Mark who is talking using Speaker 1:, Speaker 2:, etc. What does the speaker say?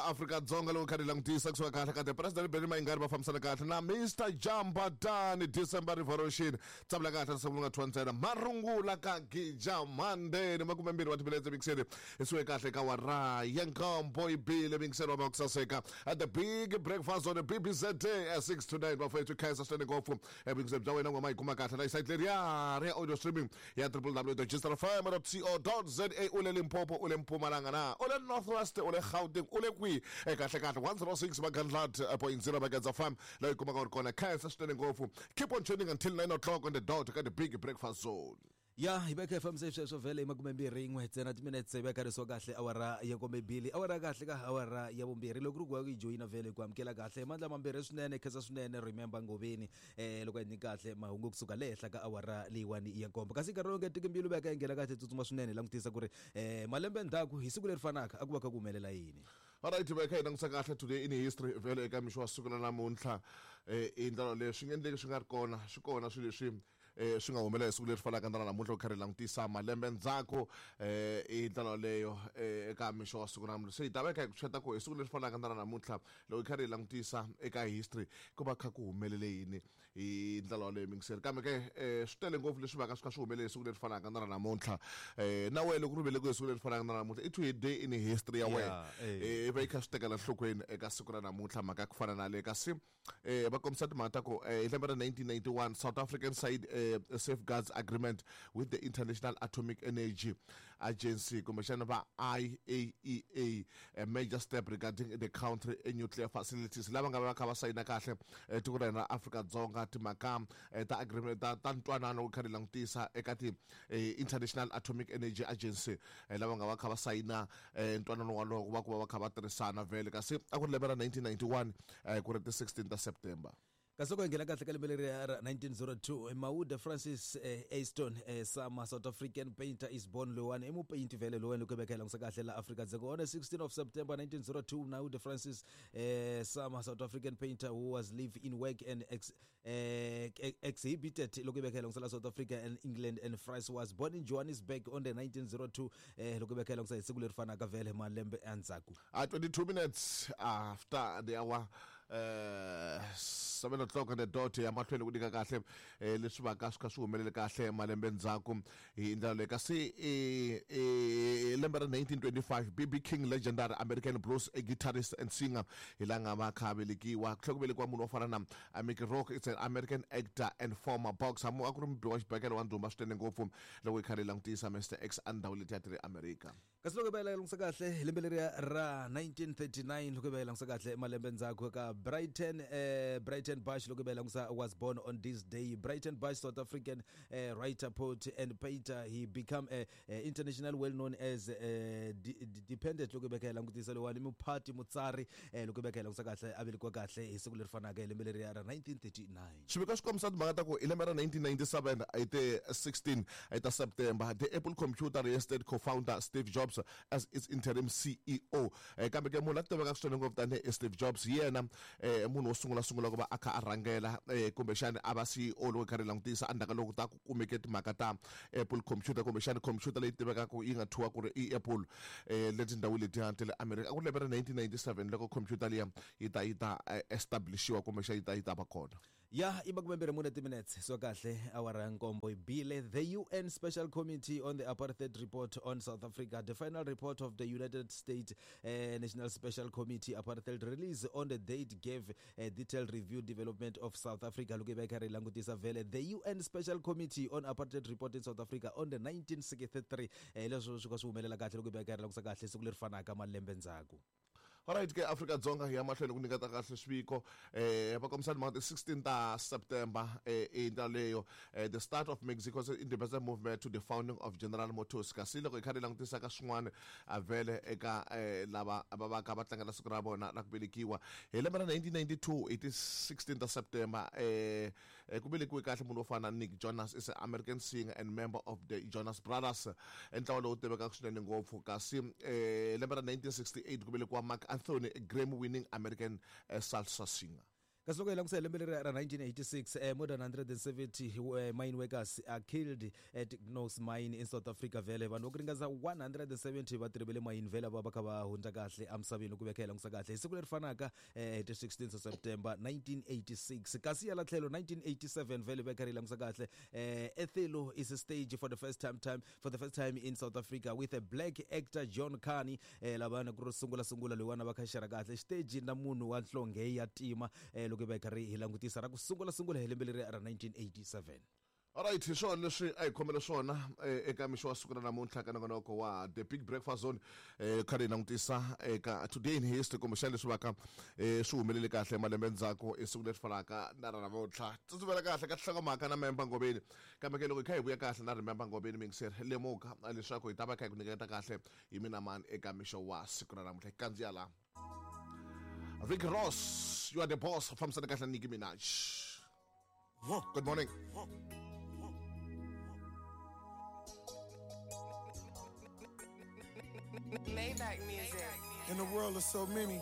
Speaker 1: Afrika-Dzonga loko kha ri langutisa kusuka kahle ka the President Benny Mayengani va fambisana kahle na Mr Jambatani December Revolution. Tsavula kahle risimu nga thwa ntsena marungula ka Gija Mandeni 20 wa timinetse mixeni hi suke kahle ka wara ya nkombo ibile mixeni wa makusaseka at the big breakfast on the BBZ at 6 to 9 bafethu khensa swinene ngopfu ebingiseni bya wena ngoma yi kuma kahle la site leriya ri ya audio streaming ya www.gsrfm.co.za u le Limpopo u le Mpumalanga na u le North West u le Gauteng u le kwihi kahle kahle 106 Magandlat 0 Maganza FM la yi kumaka u ri kona. Khensa swinene ngopfu, keep on tuning until 9 o'clock on the dot ka the big breakfast zone.
Speaker 2: Ya hi veka hi fambise sweswo vhele hi 21 ntsena timinetse hi veka risiwa kahle awara ya kombebili awara kahle ka awara ya vumbirhi loko ri ku yi joyina vhele ku amukela kahle mandla mambirhi swinene khensa swinene remember ngoveni loko hi nyika kahle mahungu kusuka le henhla ka awara leyiwani ya nkombo kasi nkarhi lowu nga tiki mbilu veka yi nghena kahle tsutsuma swinene hi langutisa ku ri malembe ndzhaku hi siku leri fanaka a ku va kha ku humelela yini.
Speaker 1: Alright, va kha hi langutisa kahle today in history vhele eka mixo wa siku ra namuntlha i ndlela leyi swi nga endleki swi nga ri kona swi kona swilo leswi swi nga humelela hi siku leri fanaka na namuntlha ku kha ri langutisa malembe ndzhaku i ndlela leyo eka mixo wa siku ra namuntlha se hi ta va hi kha hi ku xeta ku hi siku leri fanaka na namuntlha loko hi kha ri langutisa eka history ku va kha ku humelele yini hi ndlela yoleyo mingiseri kambe ke swi tele ngopfu leswi vaka swi kha swi humelele hi siku leri fanaka na ra namuntlha na wena loko ri velekiwe hi siku leri fanaka na namuntlha i today in history ya wena i va yi kha swi tekela nhlokweni eka siku ra namuntlha mhaka ya ku fana na le kasi va kombisa timhaka ta ku hi lembe ra 1991 South African side safeguards agreement with the International Atomic Energy Agency kumbexana va IAEA, a major step regarding the country nuclear facilities lava nga va kha va sayina kahle tiko ra hina ra Afrika-Dzonga timhaka ta agreement ta ntwanano wu kha ri langutisa eka ti International Atomic Energy Agency lava nga va kha va sayina ntwanano wolowo ku va ku va va kha va tirhisana vhele kasi a ku ri lembe ra 1991 ku ri ti 16 ta September.
Speaker 2: Kasi loko hi nghena kahle ka lembe leri ra 1902 Maude Francis Aston Sama South African painter is born loyiwani i mupeyinti vhele loyiwani loko hi veka hi langutisa kahle la Afrika-Dzonga on the 16 of September 1902 Maude Francis Sama South African painter who was live in work and exhibited loko hi veka hi langutisa la South Africa and England and France was born in Johannesburg on the 1902 loko hi veka hi langutisa hi siku leri fanaka vhele malembe endzhaku.
Speaker 1: 22 minutes after the hour 7 o'clock on the dot ya mahlweni ku nyika kahle leswi vaka swi kha swi humelele kahle malembe ndzhaku hi ndlela leyi kasi lembe ra 1925 BB King legendary American blues guitarist and singer hi la nga va kha velekiwa ku tlhela ku velekiwa munhu wo fana na Mickey Rourke, it's an American actor and former boxer mu a ku ri mubi wa xibakele wa ndhuma swinene ngopfu loko hi kha ri langutisa Mr X a ndhawu letiya ti ri America.
Speaker 2: Kasi loko hi va hi langutisa kahle hi lembe leriya ra 1939 loko hi va hi langutisa kahle malembe ndzhaku ka Brighton Brighton Bush loko hi va hi langutisa was born on this day. Brighton Bush, South African writer, poet and painter, he become international well known as dependent loko hi va hi langutisa lowani muphati mutsari loko hi va hi langutisa kahle a velekiwa kahle hi siku leri fanaka hi lembe leriya ra 1939.
Speaker 1: Xiviko xi kombisa timhaka ta ku hi lembe ra 1997 hi ti 16 ta September the Apple Computer reinstated co-founder Steve Jobs as its interim CEO. Kambe ke munhu a tivekaka swinene ngopfu tanihi Steve Jobs hi yena munhu wo sungula sungula ku va a kha a rhangela kumbexana a va CEO loko hi karhi hi langutisa endzhaku ka loko ta ku kumeke timhaka ta Apple Computer kumbexana computer leyi tivekaka yi nga thyiwa ku ri i Apple le tindhawini letiya ta le America. A ku ri lembe ra 1997 loko computer liya yi ta yi ta establishiwa kumbexana yi ta yi ta va kona.
Speaker 2: Ya i 24 timinetse so kahle awara ya nkombo yi bile. The UN Special Committee on the Apartheid Report on South Africa, the final report of the United States National Special Committee Apartheid release on the date gave a detailed review development of South Africa loko yi va yi karhi yi langutisa vhele the UN Special Committee on Apartheid Report in South Africa on the 1963 leswo swi ka swi humelela kahle loko yi va yi karhi langutisa kahle siku leri fanaka malembe ndzhaku.
Speaker 1: Alright ke Afrika-Dzonga hi ya mahlweni ku nyiketa kahle swiviko va kombisa timhaka ti 16 ta September i ndlela leyo the start of Mexico's independence movement to the founding of General Motors kasi loko hi kha hi langutisa ka swin'wana vhele eka lava va va ka va tlangela siku ra vona ra ku velekiwa hi lembe ra 1992 hi ti 16 ta September ku velekiwe kahle munhu wo fana na Nick Jonas is an American singer and member of the Jonas Brothers ntlawa lowu tivekaka swinene ngopfu kasi lembe ra 1968 ku velekiwa Marc Anthony, a Grammy winning American salsa singer.
Speaker 2: Kasi loko hi langutisa hi lembe leri ra 1986, more than 170 mine workers are killed at Knox mine in South Africa. Vhele vanhu va ku ringana 170 vatirhi va le mayini vhele va va kha va hundza kahle emisaveni ku veka hi langutisa kahle hi siku leri fanaka, hi ti 16 September 1986. Kasi yala tlhelo 1987 vhele va kha ri langutisa kahle, Ethelo is stage for the first time for the first time in South Africa with a black actor, John Kani. Lavana ku ri sungula sungula loyiwana va kha xera kahle xiteji na munhu wa nhlonge ya tima, loko hi va hi karhi hi langutisa ra ku sungula sungula hi lembe leri ra 1987.
Speaker 1: Alright, hi swona leswi a hi khomele swona eka mixo wa siku ra namuntlha ka nongonoko wa The Big Breakfast Zone, kha hi langutisa eka today in history, kumbexana leswi vaka swi humelele kahle malembe ndzhaku i siku leri fanaka na ra namuntlha. Tsutsumela kahle ka nhlokomhaka na Member Ngobeni, kambe ke loko hi kha hi vuya kahle na Remember Ngobeni, mingiseri lemuka leswaku hi ta va kha hi ku nyiketa kahle hi mina mani eka mixo wa siku ra namuntlha. Hi kandziya la Rick Ross, "You Are the Boss", fambisana kahle na Nicki Minaj. Good morning.
Speaker 3: Maybach music.
Speaker 4: In the world of so many,